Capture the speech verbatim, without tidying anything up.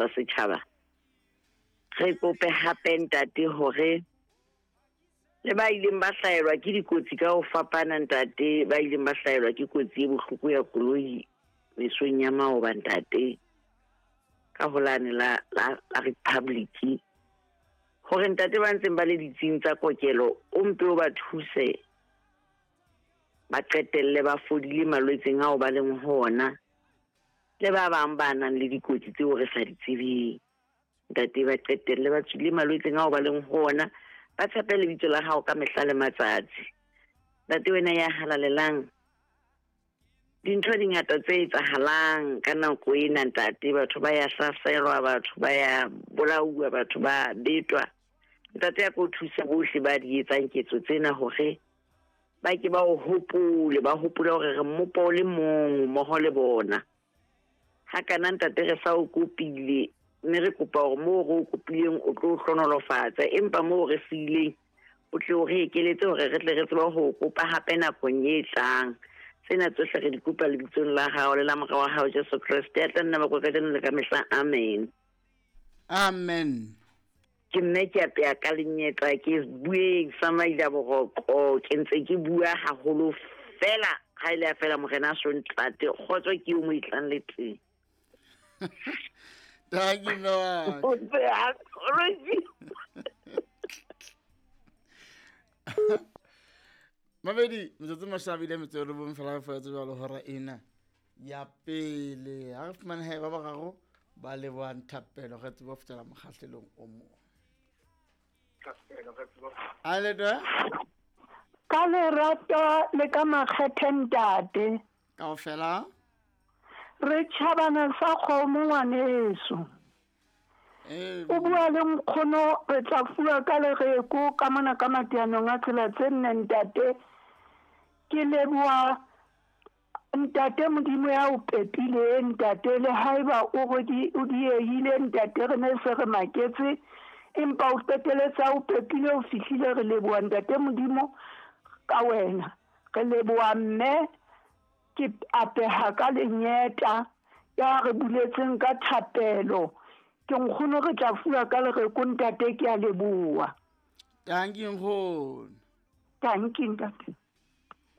tsa setjhaba. Re kope hape ntate hore le ba ileng ba hlahelwa ke dikotsi ka ho fapana ntate, ba ileng ba hlahelwa ke kotsi e bohloko ya koloi mesong ya maoba ntate, ka holane la la, la Republic, hore ntate ba ntseng ba le ditsing tsa kokelo o mpe o ba thuse ba qetelle ba fodile malwetseng ao ba leng ho ona, le ba bang ba nang le dikotsi tseo re sa di tsebeng ntate, ba qetelle ba tswile malwetseng ao ba leng ho ona, ba tshepe lebitso la hao ka mehla le matsatsi. Ntate wena ya halalelang, dintho di ngata tse etsahalang ka nako ena ntate, batho ba ya hlaselwa, batho ba ya bolauwa, batho ba betwa. Ntate ya ko thuse bohle ba di etsang ketso tsena hore ba ke ba o hopole, ba hopole hore re mmopo o le mong mmoho le bona. Ha kana ntate re sa o kopile, mme re kopa hore moo re o kopileng o tlo hlonolofatsa, empa moo re siileng o tle o re ekeletse hore re tle re tsebe ho kopa hape nakong e tlang. Tsena tsohle re di kopa lebitsong la hao le la Mora wa hao Jesu Kreste, ya tla nna ba kajeno le ka mehla. Amen. Amen. Ke mme ke apeya ka lenyetla, ke bueng sa maila boroko, ke ntse ke bua haholo fela ha ile ya fela morena a so ntate, kgotso ke o mo itlang le teng. Thank you, Noah. Mabedi, metsotso mashabile metso e robong fela fa tse jwalo hora ena ya pele. Ha re fumane hae ba bararo ba lebohang thapelo re tsebe ho fetela mokgahlelong o mong. A le twe? Ka lerato le ka makgethe ntate. Kaofela? Re tjhabana sa kgomo ngwaneso. O bua le nkgono, re tla fuwa ka lereko ka mona ka matianong a tsela tse nne ntate. Ke leboha ntate Modimo ya o pepileng ntate, le haeba o o diehile ntate, re ne se re maketse, empa o qeteletse o pepile o fihlile. Re leboha ntate Modimo ka wena, re leboha mme ke apeha ka lenyeta ya re buletseng ka thapelo. Ke nkgono re tla fuwa ka lereko ntate, ke a leboha. Thank you nkgono. Thank you ntate.